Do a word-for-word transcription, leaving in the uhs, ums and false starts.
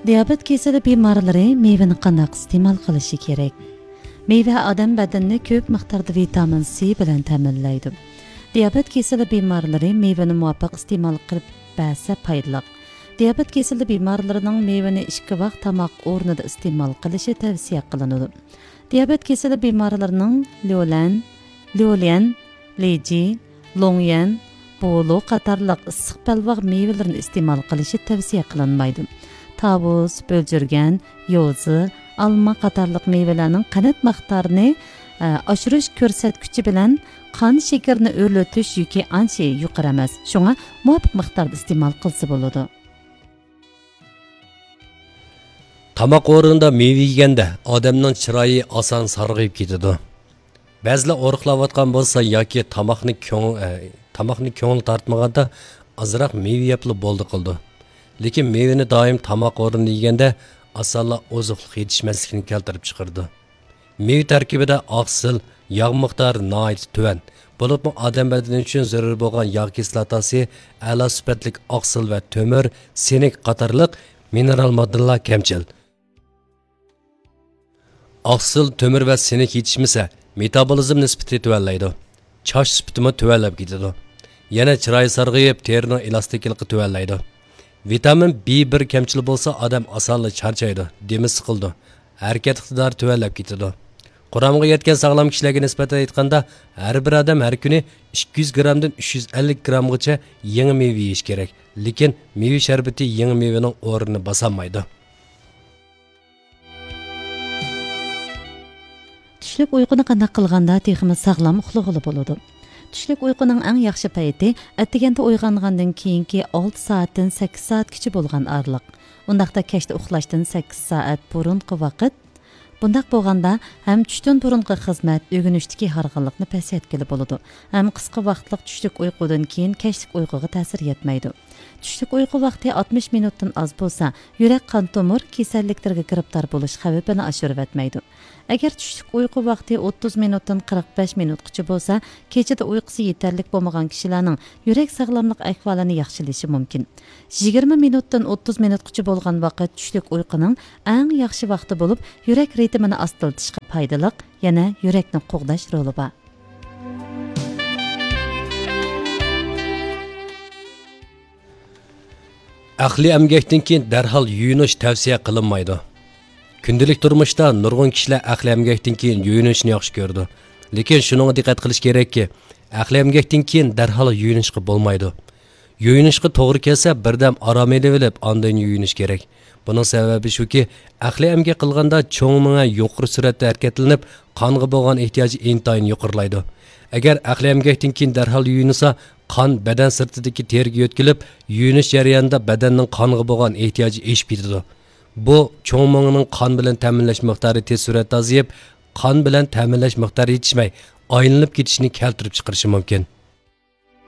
دىيابېت كېسىلى بىمارلىرى مېۋىنى قانداق ئىستېمال قىلىشى كېرەك؟ مېۋە ئادەم بەدىنىنى كۆپ مىقداردا ۋىتامىن سى بىلەن تەمىنلەيدۇ. دىيابېت كېسىلى بىمارلىرى مېۋىنى مۇۋاپىق ئىستېمال قىلىپ بەرسە پايدىلىق. دىيابېت كېسىلى بىمارلىرىنىڭ مېۋىنى ئىككى ۋاق تاماق ئورنىدا ئىستېمال قىلىشى تەۋسىيە قىلىنىدۇ. دىيابېت كېسىلى بىمارلىرىنىڭ ليۇلەن، ليۇليەن، لىجى، لوڭيەن، بولۇ قاتارلىق ئىسسىق بەلباغ مېۋىلىرىنى ئىستېمال قىلىشى تەۋسىيە قىلىنمايدۇ. تاۋۇز، بۆلجۈرگەن، يوزا، ئالما قاتارلىق مېۋىلەرنىڭ قەنت مىقدارىنى، ئە، ئاشۇرۇش كۆرسەتكۈچى بىلەن قان شېكىرىنى ئۆرلىتىش يۈكى ئانچە يۇقىرى ئەمەس، شۇڭا مۇۋاپىق مىقداردا ئىستېمال قىلسا بولىدۇ. تاماق ئورنىدا مېۋە يېگەندە ئادەمنىڭ چىرايى ئاسان سارغىيىپ كېتىدۇ. بەزىلەر ئورۇقلاۋاتقان بولسا ياكى تاماقنى كۆڭ-، ئە، تاماقنى كۆڭلى تارتمىغاندا ئازراق مېۋە يەپلا بولدى قىلىدۇ. لېكىن مېۋىنى دائىم تاماق ئورنىدا يېگەندە ئاسانلا ئوزۇقلۇق يېتىشمەسلىكنى كەلتۈرۈپ چىقىرىدۇ. مېۋە تەركىبىدە ئاقسىل، ياغ مىقدارى ناھايىتى تۆۋەن، بولۇپمۇ ئادەم بەدىنى ئۈچۈن زۆرۈر بولغان ياغ كىسلاتاسى، ئەلا سۈپەتلىك ئاقسىل ۋە تۆمۈر، سىنك قاتارلىق مىنېرال ماددىلار كەمچىل. ئاقسىل، تۆمۈر ۋە سىنك يېتىشمىسە، مېتابولىزم نىسبىتى تۆۋەنلەيدۇ. چاچ سۈپىتىمۇ تۆۋەنلەپ كېتىدۇ. يەنە چىراي سارغىيىپ، تېرىنىڭ ئېلاستىكلىقى تۆۋەنلەيدۇ. ۋىتامىن بى بىر كەمچىل بولسا، ئادەم ئاسانلا چارچايدۇ، دېمى سىقىلىدۇ، ھەرىكەت ئىقتىدارى تۆۋەنلەپ كېتىدۇ. قۇرامىغا يەتكەن ساغلام كىشىلەرگە نىسبەتەن ئېيتقاندا، ھەر بىر ئادەم ھەر كۈنى ئىككى يۈز گرامدىن ئۈچ يۈز ئەللىك گرامغىچە يېڭى مېۋە يېيىشى كېرەك. لېكىن مېۋە شەربىتى يېڭى مېۋىنىڭ ئورنىنى باسالمايدۇ. چۈشلۈك ئۇيقۇنى قانداق قىلغاندا تېخىمۇ ساغلام ئۇخلىغىلى بولىدۇ؟ چۈشلۈك ئۇيقۇنىڭ ئەڭ ياخشى پەيتى ئەتىگەندە ئويغانغاندىن كېيىنكى ئالتە سائەتتىن سەككىز سائەتكىچە بولغان ئارىلىق. ئۇنداقتا كەچتە ئۇخلاشتىن سەككىز سائەت بۇرۇنقى ۋاقىت. بۇنداق بولغاندا ھەم چۈشتىن بۇرۇنقى خىزمەت، ئۆگىنىشتىكى ھارغىنلىقنى پەسەيتكىلى بولىدۇ، ھەم قىسقا ۋاقىتلىق چۈشلۈك ئۇيقۇدىن كېيىن كەچلىك ئۇيقۇغا تەسىر يەتمەيدۇ. چۈشلۈك ئۇيقۇ ۋاقتى ئاتمىش مىنۇتتىن ئاز بولسا، يۈرەك قان تومۇر كېسەللىكلىرىگە گىرىپتار بولۇش خەۋپىنى ئاشۇرۇۋەتمەيدۇ. ئەگەر چۈشلۈك ئۇيقۇ ۋاقتى ئوتتۇز مىنۇتتىن قىرىق بەش مىنۇتقىچە بولسا، كېچىدە ئۇيقۇسى يېتەرلىك بولمىغان كىشىلەرنىڭ يۈرەك ساغلاملىق ئەھۋالىنى ياخشىلىشى مۇمكىن. يىگىرمە مىنۇتتىن ئوتتۇز مىنۇتقىچە بولغان ۋاقىت چۈشلۈك ئۇيقۇنىڭ ئەڭ ياخشى ۋاقتى بولۇپ، يۈرەك رىتىمىنى ئاستىلىتىشقا پايدىلىق، يەنە يۈرەكنى قوغداش رولى بار. ئەقلىي ئەمگەكتىن كېيىن دەرھال يۇيۇنۇش تەۋسىيە قىلىنمايدۇ. كۈندىلىك تۇرمۇشتا نۇرغۇن كىشىلەر ئەقلىي ئەمگەكتىن كېيىن يۇيۇنۇشنى ياخشى كۆرىدۇ. لېكىن شۇنىڭغا دىققەت قىلىش كېرەككى، ئەقلىي ئەمگەكتىن كېيىن دەرھال يۇيۇنۇشقا بولمايدۇ. يۇيۇنۇشقا توغرا كەلسە، بىردەم ئارام ئېلىۋېلىپ، ئاندىن يۇيۇنۇش كېرەك. بۇنىڭ سەۋەبى شۇكى، ئەقلىي ئەمگەك قىلغاندا چوڭ مېڭە يۇقىرى سۈرئەتتە ھەرىكەتلىنىپ، قانغا بولغان ئېھتىياجى ئىنتايىن يۇقىرىلايدۇ. ئەگەر ئەقلىي ئەمگەكتىن كېيىن دەرھال يۇيۇنسا، قان بەدەن سىرتىدىكى تېرىگە يۆتكىلىپ، يۇيۇنۇش جەريانىدا بەدەننىڭ قانغا بولغان ئېھتىياجى ئېشىپ كېتىدۇ. بۇ چوڭ مېڭىنىڭ قان بىلەن تەمىنلەش مىقدارى تېز سۈرئەتتە ئازىيىپ، قان بىلەن تەمىنلەش مىقدارى يېتىشمەي، ئايلىنىپ كېتىشىنى كەلتۈرۈپ چىقىرىشى مۇمكىن.